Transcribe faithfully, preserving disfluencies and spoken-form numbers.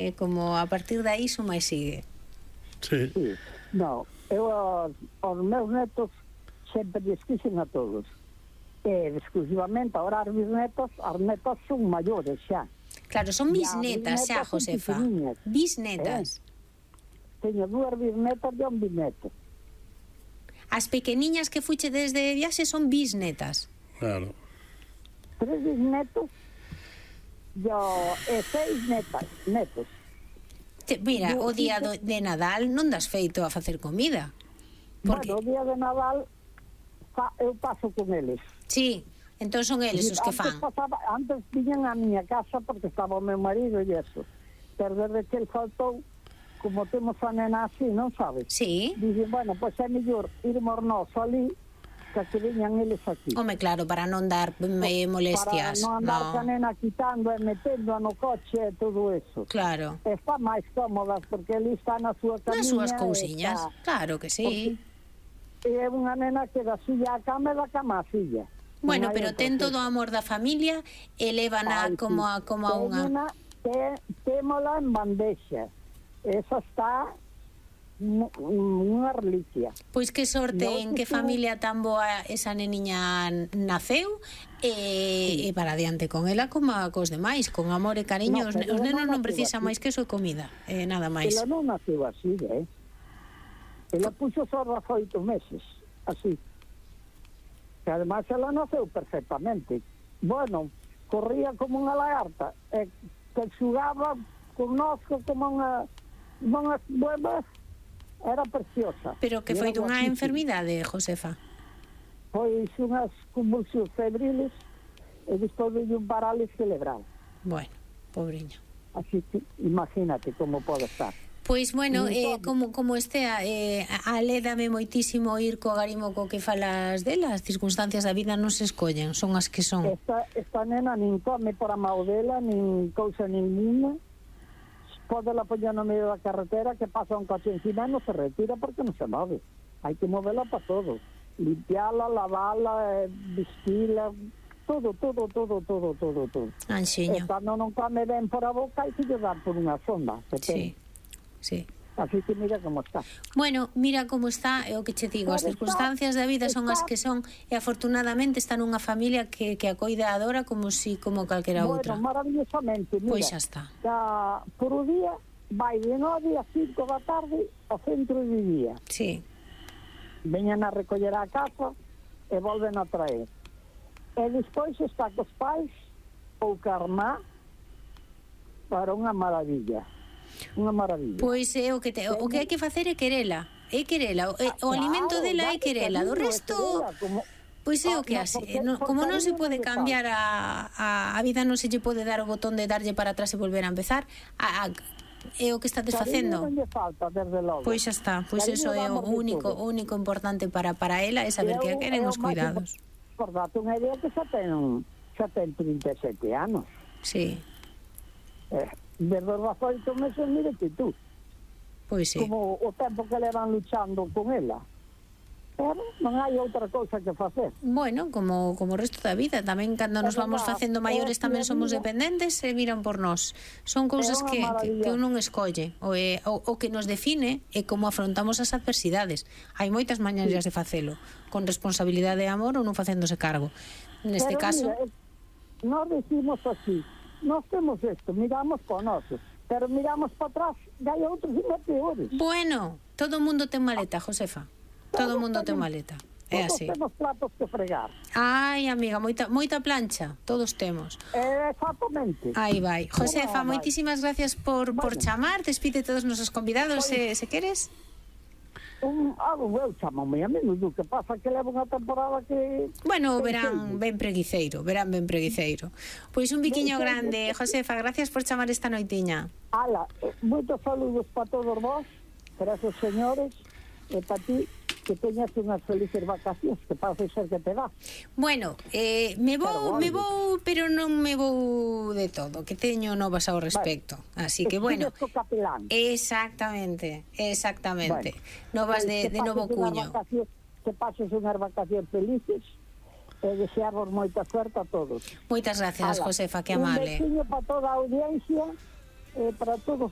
eh, como a partir de aí suma e sigue. Sí. Sí. No, eu aos, aos meus netos sempre lles quixen a todos. E exclusivamente ahora as bisnetos, as netas son maiores xa. Claro, son E as bisnetas xa, bisnetas son Josefa. pequeniñas. Bisnetas. Eh, Teño dúas bisnetas e un bisneto. As pequeniñas que fuche desde viaxe son bisnetas. Claro. Tres bisnetos yo, e seis netas, netos. Te, mira, Yo, o día do, de Nadal non das feito a facer comida. Porque, Bueno, o día de Nadal fa, eu paso con eles. sí, entón son eles os que fan. Antes, pasaba, antes viñan a miña casa porque estaba o meu marido e eso. Pero desde que el faltou, como temos a nena así, non sabes? Sí. Dixen, bueno, pois é mellor irmos nós ali que que viñan eles aquí. Home, claro, para non dar eh, molestias. Para non andar No. a nena quitando e metendo no coche e todo eso. Claro. Está máis cómodas porque ali está na súa camiña. Nas súas e cousiñas. está- Claro que sí. E é unha nena que da silla á cama e da cama á silla. Bueno, Non hai pero outra ten cousa. todo o amor da familia e lévana Ai, como sí. a, como a unha... Teñena, te, témola en bandexa. Esa está mu- unha reliquia. Pois que sorte No, en que sí, sí. familia tan boa esa neniña naceu e, e para adiante con ela como a cos demais, con amor e cariño. No, Os, pero os ela nenos non non naceu precisan así. máis que eso e comida, e nada máis. Ela non naceu así, eh? Ela puxo só dezoito meses, así. Que además ela naceu perfectamente. Bueno, corría como unha lagarta, e que xugaba connosco como unha, unhas buenas, era preciosa. Pero que E foi era dunha guapísima. enfermidade, Josefa? Pois unhas convulsións febriles e despois de un parálisis cerebral. Bueno, pobriño. Así que imagínate como pode estar. Pois, bueno, Ni eh, todo. como, como estea, eh, alédame moitísimo ir co garimo co que falas dela. As circunstancias da vida non se escollen, son as que son. Esta, esta nena nin come por a maudela, nin cousa ninguna. Pode la poñer no medio da carretera que pasa un coche encima e non se retira porque non se move. Hai que movela para todo. Limpiala, lavala, eh, vestila, todo, todo, todo, todo, todo, todo. Anxiño. E cando non come ben por a boca hai que lle dar por unha sonda. que ten. Sí, sí. Así que mira como está. Bueno, mira como está, é o que che digo, as Pero está- circunstancias da vida son as está- que son e afortunadamente está nunha familia que, que a coida e adora como si como calquera outra. Bueno, maravillosamente, mira. Pois xa está. Da, por o día vai de nove a cinco da tarde ao centro de día. Sí. Veñan a recoller a casa e volven a traer. E despois está cos pais ou carmá para unha maravilla. Unha maravilla. Pois é o que te, o que hai que facer é querela. É querela, o, é- o alimento dela é querela, do resto pois é o que así, no, como non se pode cambiar a, a, a vida, non se lle pode dar o botón de darlle para atrás e volver a empezar. A, a, é o que estás facendo. Non lle falta, desde logo. Pois xa está, pois Cariño eso é o damos de único, todo. o único importante para para ela é saber que a queren os cuidados. Por date unha idea que xa ten, xa ten trinta e sete anos. Sí, Eh, desde os dezoito meses, mírete tú, pois sí. como o tempo que levan luchando con ela. Pero non hai outra cousa que facer. Bueno, como como o resto da vida, tamén cando nos É vamos verdad, facendo maiores é tamén a somos vida. dependentes e miran por nós. Son cousas unha que, que, maravilla. que un non escolle, o, é, o, o que nos define é como afrontamos as adversidades. Hai moitas mañeiras de facelo, con responsabilidade e amor ou non facéndose cargo. Neste Pero caso, mira, eh, nós decimos así, nós temos isto, miramos para nosos, pero miramos para atrás e hai outros e peores. bueno, todo o mundo ten maleta, Josefa. Todo o mundo ten maleta. É Todos así. temos platos que fregar. Ai, amiga, moita moita plancha, todos temos. Eh, exactamente. Aí vai. Josefa, Bueno, vai. moitísimas gracias por, por Bueno. chamar. Despide todos os nosos convidados, se, se queres. Un, ah, eu chamame a menudo, que pasa que leva unha temporada que... Bueno, que verán entende. ben preguiceiro, verán ben preguiceiro. Pois un biquiño Ben, grande, Josefa, gracias por chamar esta noitiña. Ala, eh, moitos saludos para todos vos, para esos señores, e para ti, que teñas unhas felices vacacións, que parece ser que te dá. Bueno, eh, me vou, Pero, me vale. vou, pero non me vou de todo, que teño novas ao respecto. Así que bueno, Estudios co capelán. exactamente, exactamente. Bueno, Novas eh, de, que de novo pases unhas cuño. vacacións- Que pases unhas vacacións felices e deseamos moita suerte a todos. Moitas gracias, Ala, Josefa, que Un amable. besiño para toda a audiencia e para todos